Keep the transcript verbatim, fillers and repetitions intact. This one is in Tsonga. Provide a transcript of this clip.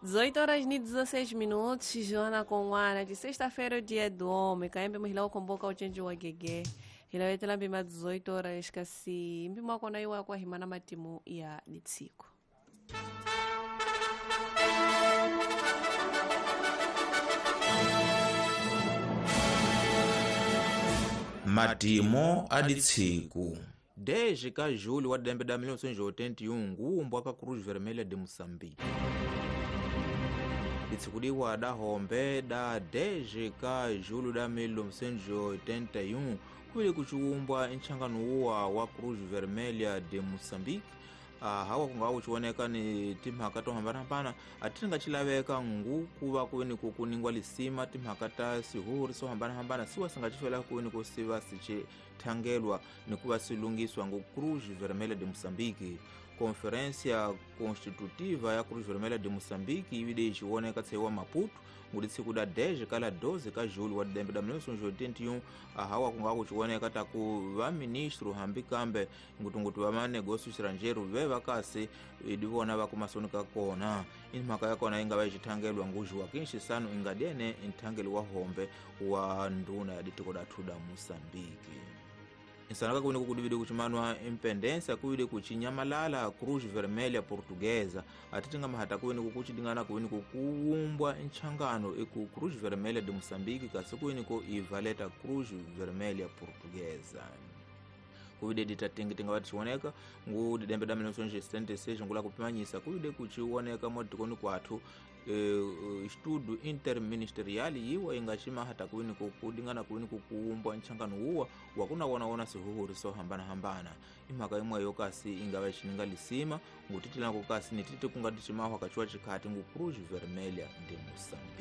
dezoito horas e dezesseis minutos, Joana Conwana, de sexta-feira, o dia do homem, kaembe muhila ukomboka uchenji wa gege. Hilawetela mbima dezoito horas kasi mbima kona iwa kwa himana matimu ya ditsiko. Matimo a ditsiku dez ka julho wa dembe da mil novecentos e oitenta e um nguumbwa ka Cruz Vermelha de Moçambique. Ditsikudiwa da hombe da dez ka julho da mil novecentos e oitenta e um kuili kuchiumbwa nchangano uwa wa Cruz Vermelha de Moçambique. Ah, hawa kunga kuchioneka ni timhaka to hambanahambana atinga chilaveka ngu kuva kuweni kukuningwa lisima timhaka ta sihuri so hambanahambana siwa singachifela kuweni kusiva sichithangelwa ni kuva silungiswa ngu Cruz Vermelha de Moçambique. Conferência Constitutiva ya Cruz Vermelha de Moçambique ivide ichioneka tseiwa Maputo ngudi tsiku da dez kala doze ka julho wa dembe da mil novecentos e oitenta e um ahawa kunga kuchioneka taku va ministro hambi kambe ngutungutu va manegócio estrangeiro ve vakasi idivona va kumasonika kona imhaka ya kona inga va ichithangelwa ngu Joaquim Chissano ingadiene nthangelo wa hombe wa nduna ya ditiko dathu da Moçambique. Insanaka kuini kukudivide kuchimanwa impendência kuide kuchinyamalala Cruz Vermelha Portuguesa atitinga mahata kuini kukuchidingana kuini kukuumbwa nchangano iku Cruz Vermelha de Moçambique kasi kuini ku ivaleta Cruz Vermelha Portuguesa. Kuide ditatingi tinga vatichioneka ngu didembe da mil novecentos e setenta e seis ngula kupimanyisa kuide kuchioneka modikoni kwathu e, estudo interministerial yiwa ingachimahata kuini kukudingana kuini kukuumbwa nchangano uwa wakuna wona sihuhuri so hambana hambana imhaka imwe yokasi ingava ichininga lisima ngutitilana kukasi nititi kungati chimahwa kachiwa chikhati ngu Cruz Vermelha de Moçambique.